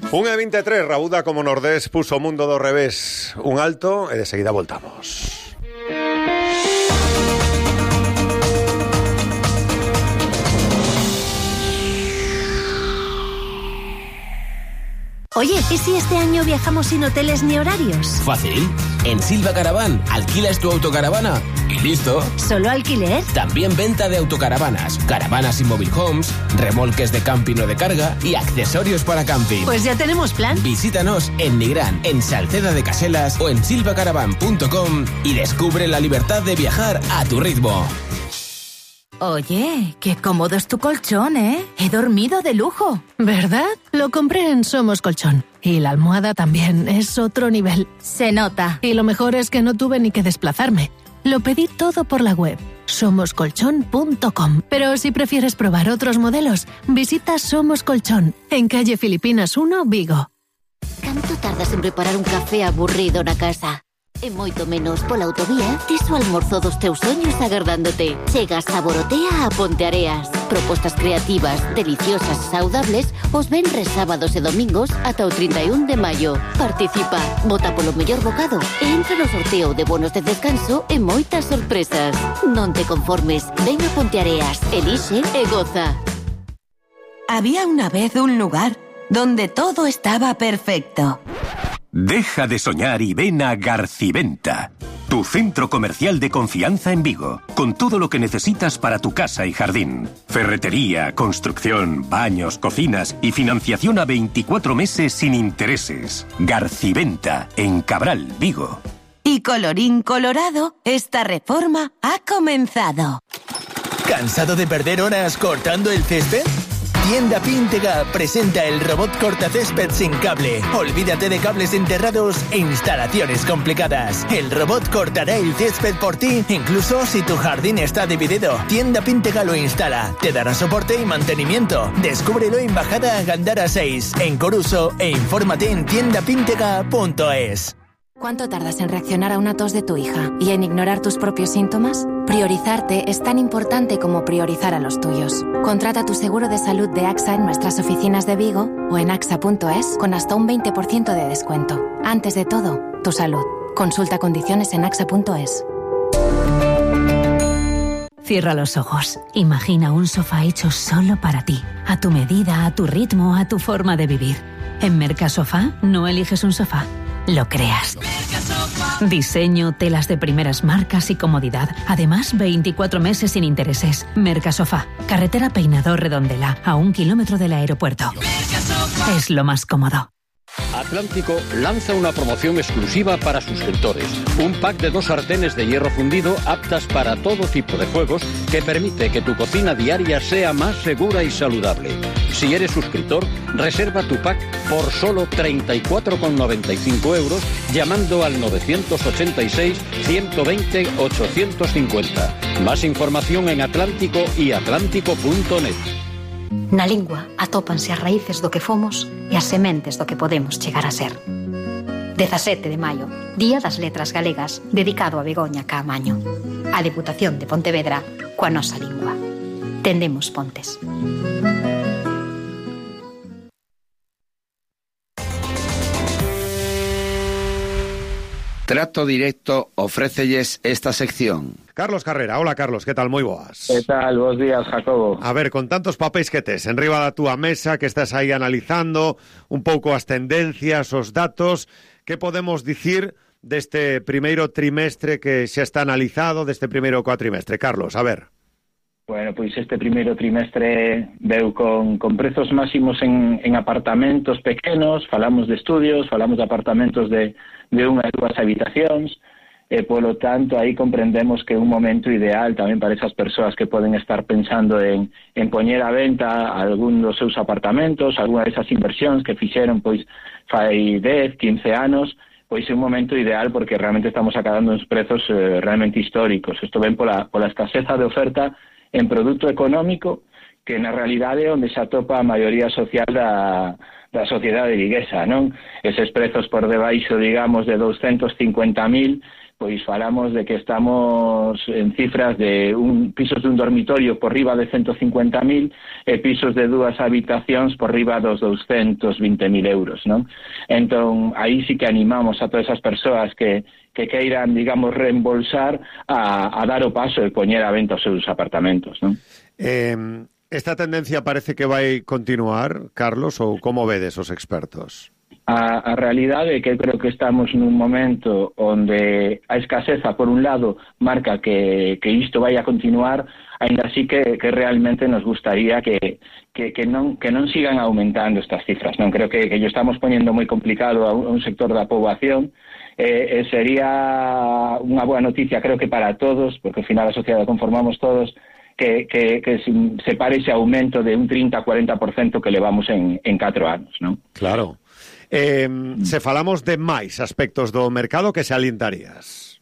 Un E23, Rabuda como Nordés puso o mundo do revés. Un alto e de seguida voltamos. Oye, ¿y si este año viajamos sin hoteles ni horarios? Fácil. En Silva Caravan alquilas tu autocaravana y listo. ¿Solo alquiler? También venta de autocaravanas, caravanas y mobile homes, remolques de camping o de carga y accesorios para camping. Pues ya tenemos plan. Visítanos en Nigrán, en Salceda de Caselas o en silvacaravan.com y descubre la libertad de viajar a tu ritmo. Oye, qué cómodo es tu colchón, ¿eh? He dormido de lujo. ¿Verdad? Lo compré en Somos Colchón. Y la almohada también es otro nivel. Se nota. Y lo mejor es que no tuve ni que desplazarme. Lo pedí todo por la web, somoscolchón.com. Pero si prefieres probar otros modelos, visita Somos Colchón, en calle Filipinas 1, Vigo. ¿Canto tardas en preparar un café aburrido na casa? E moito menos pola autovía, tes o almorzo dos teus soños agardándote. Chega Saborotea a Ponteareas. Propostas creativas, deliciosas e saudables os venres, sábados e domingos ata o 31 de maio. Participa, vota polo mellor bocado e entra no sorteo de bonos de descanso e moitas sorpresas. Non te conformes, ven a Ponteareas, elixe e goza. Había una vez un lugar donde todo estaba perfecto. Deja de soñar y ven a Garciventa, tu centro comercial de confianza en Vigo, con todo lo que necesitas para tu casa y jardín. Ferretería, construcción, baños, cocinas y financiación a 24 meses sin intereses. Garciventa, en Cabral, Vigo. Y colorín colorado, esta reforma ha comenzado. ¿Cansado de perder horas cortando el césped? Tienda Píntega presenta el robot cortacésped sin cable. Olvídate de cables enterrados e instalaciones complicadas. El robot cortará el césped por ti, incluso si tu jardín está dividido. Tienda Píntega lo instala, te dará soporte y mantenimiento. Descúbrelo en Bajada Gandara 6, en Coruso, e infórmate en tiendapíntega.es. ¿Cuánto tardas en reaccionar a una tos de tu hija y en ignorar tus propios síntomas? Priorizarte es tan importante como priorizar a los tuyos. Contrata tu seguro de salud de AXA en nuestras oficinas de Vigo o en axa.es con hasta un 20% de descuento. Antes de todo, tu salud. Consulta condiciones en axa.es. Cierra los ojos. Imagina un sofá hecho solo para ti. A tu medida, a tu ritmo, a tu forma de vivir. En Mercasofá no eliges un sofá. Lo creas. Diseño, telas de primeras marcas y comodidad. Además, 24 meses sin intereses. Mercasofá, carretera Peinador Redondela, a 1 kilómetro del aeropuerto. Es lo más cómodo. Atlántico lanza una promoción exclusiva para suscriptores. Un pack de 2 sartenes de hierro fundido aptas para todo tipo de fuegos que permite que tu cocina diaria sea más segura y saludable. Si eres suscriptor, reserva tu pack por solo 34,95 euros llamando al 986 120 850. Más información en Atlántico y atlántico.net. Na lingua atópanse as raíces do que fomos e as sementes do que podemos chegar a ser. 17 de maio, Día das Letras Galegas, dedicado a Begoña Caamaño. A Deputación de Pontevedra, coa nosa lingua. Tendemos pontes. Trato Directo ofrécelles esta sección. Carlos Carrera, hola Carlos, que tal? Moi boas. Que tal? Bos días, Jacobo. A ver, con tantos papéis que tes enriba da túa mesa, que estás aí analizando un pouco as tendencias, os datos, que podemos dicir deste primeiro trimestre que xa está analizado, deste primeiro cuatrimestre? Carlos, a ver. Bueno, pois este primeiro trimestre veu con prezos máximos en apartamentos pequenos, falamos de estudios, falamos de apartamentos de 1 e 2 habitacións, e polo tanto aí comprendemos que é un momento ideal tamén para esas persoas que poden estar pensando en poñer a venta algún dos seus apartamentos, algunha desas inversións que fixeron pois fai 10, 15 anos, pois é un momento ideal porque realmente estamos acabando uns prezos realmente históricos. Isto ven pola escaseza de oferta en produto económico, que na realidade é onde se atopa a maioría social da sociedade viguesa, non? Eses prezos por debaixo, digamos, de 250.000, pois falamos de que estamos en cifras de pisos de un dormitorio por riba de 150.000 e pisos de 2 habitacións por riba dos 220.000 euros, non? Entón, aí sí que animamos a todas esas persoas que queiran, digamos, reembolsar a dar o paso e poñer a venta os seus apartamentos, non? Esta tendencia parece que vai continuar, Carlos, ou como vedes os expertos? A realidade é que creo que estamos nun momento onde a escaseza, por un lado, marca que isto vai a continuar, ainda así que realmente nos gustaría que non sigan aumentando estas cifras, non? Creo que yo estamos poniendo moi complicado a un sector da poboación, sería unha boa noticia, creo que para todos, porque ao final a sociedade conformamos todos, que se pare ese aumento de un 30-40% que levamos en 4 anos, non? Claro. Se falamos de máis aspectos do mercado, que se alientarías?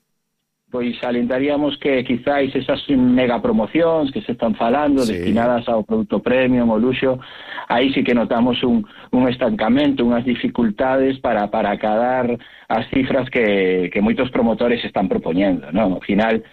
Pois alentaríamos que quizáis esas mega promocións que se están falando, destinadas ao produto premium, ao luxo, aí sí que notamos un estancamento, unhas dificultades para acadar as cifras que moitos promotores están propoñendo, non? Ao final,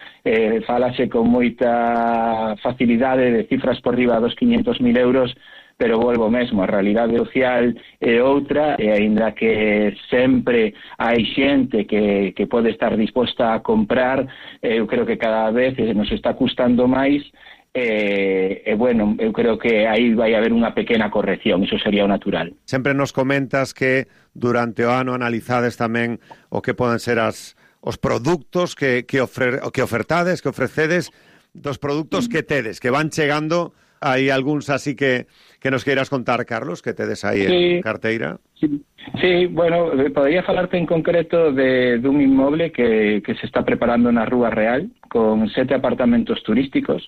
falase con moita facilidade de cifras por riba dos 500.000 euros, pero volvo mesmo, a realidade social é outra, e aínda que sempre hai xente que pode estar disposta a comprar, eu creo que cada vez nos está custando máis, bueno, eu creo que aí vai haber unha pequena corrección, iso sería o natural. Sempre nos comentas que durante o ano analizades tamén o que poden ser os produtos que ofertades, que ofrecedes, dos produtos que tedes, que van chegando. Hai algúns así que nos queiras contar, Carlos, que tedes aí en carteira? Sí, bueno, podría falarte en concreto dun inmoble que se está preparando na Rúa Real, con 7 apartamentos turísticos.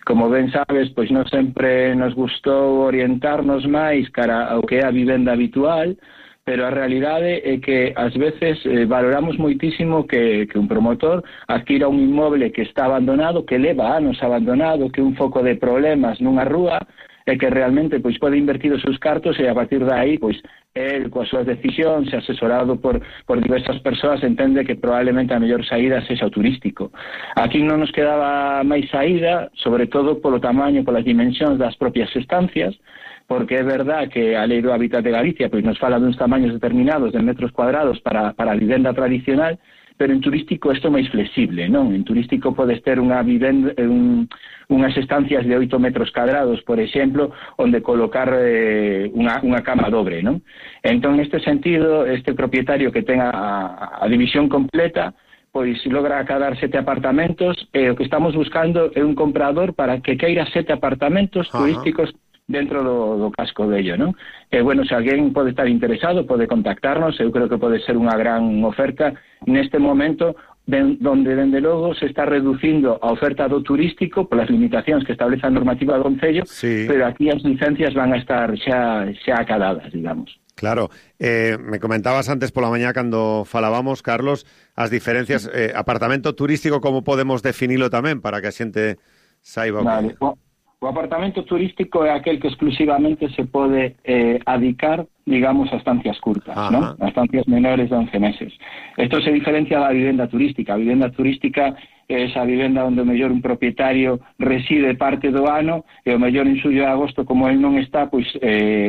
Como ben sabes, pois non sempre nos gustou orientarnos máis cara ao que é a vivenda habitual, pero a realidade é que ás veces valoramos moitísimo que un promotor adquira un inmoble que está abandonado, que leva anos abandonado, que é un foco de problemas nunha rúa, e que realmente pois pode invertir os seus cartos, e a partir de aí, pois, el, coas súas decisións, asesorado por diversas persoas, entende que probablemente a mellor saída sexa o turístico. Aquí non nos quedaba máis saída, sobre todo polo tamaño, polas dimensións das propias estancias, porque é verdad que a Lei do Hábitat de Galicia pois nos fala duns tamaños determinados de metros cuadrados para a vivenda tradicional, pero en turístico isto é máis flexible, non? En turístico podes ter unhas estancias de 8 metros cuadrados, por exemplo, onde colocar unha cama dobre, non? Entón, neste sentido, este propietario que tenga a división completa, pois logra acadar 7 apartamentos, e o que estamos buscando é un comprador para que queira 7 apartamentos turísticos dentro do casco bello, non? E, bueno, se alguén pode estar interesado, pode contactarnos, eu creo que pode ser unha gran oferta neste momento, donde, dende logo, se está reducindo a oferta do turístico polas limitacións que establece a normativa do Concello, pero aquí as licencias van a estar xa acadadas, digamos. Claro, me comentabas antes pola mañá cando falábamos, Carlos, as diferencias, apartamento turístico, como podemos definilo tamén, para que a xente saiba o que... O apartamento turístico é aquel que exclusivamente se pode adicar, digamos, a estancias curtas, ¿no? A estancias menores de 11 meses. Isto se diferencia da vivenda turística. A vivenda turística é esa vivenda onde o mellor un propietario reside parte do ano, e o mellor en xullo e agosto, como el non está, pois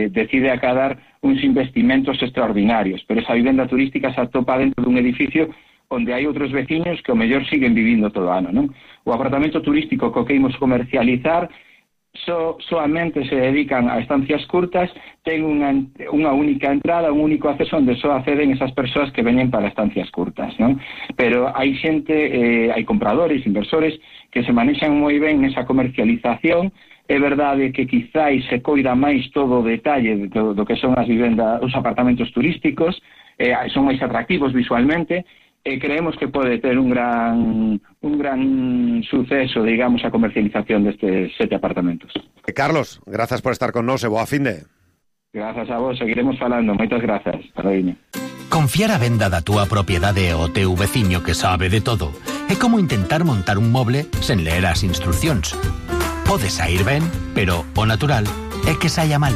decide acadar uns investimentos extraordinarios. Pero esa vivenda turística se atopa dentro dun edificio onde hai outros veciños que o mellor siguen vivindo todo o ano, non? O apartamento turístico co que imos comercializar soamente se dedican a estancias curtas, ten unha única entrada, un único acceso onde só acceden esas persoas que veñen para estancias curtas, non? Pero hai xente, hai compradores, inversores que se manexan moi ben nesa comercialización. É verdade que quizáis se coida máis todo o detalle do que son as vivendas, os apartamentos turísticos, son máis atractivos visualmente, e creemos que pode ter un gran suceso, digamos, a comercialización destes 7 apartamentos. Carlos, grazas por estar con nós e boa finde. Grazas a vos, seguiremos falando. Moitas grazas. Paradiño. Confiar a venda da túa propiedade ao teu veciño que sabe de todo é como intentar montar un moble sen ler as instruccións. Pode sair ben, pero o natural é que saia mal.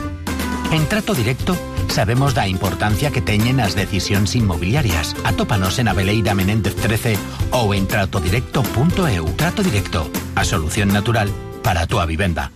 En Trato Directo Sabemos da importancia que teñen as decisións inmobiliarias. Atópanos en Aveleira Menéndez 13 ou en tratodirecto.eu. Trato Directo, a solución natural para a túa vivenda.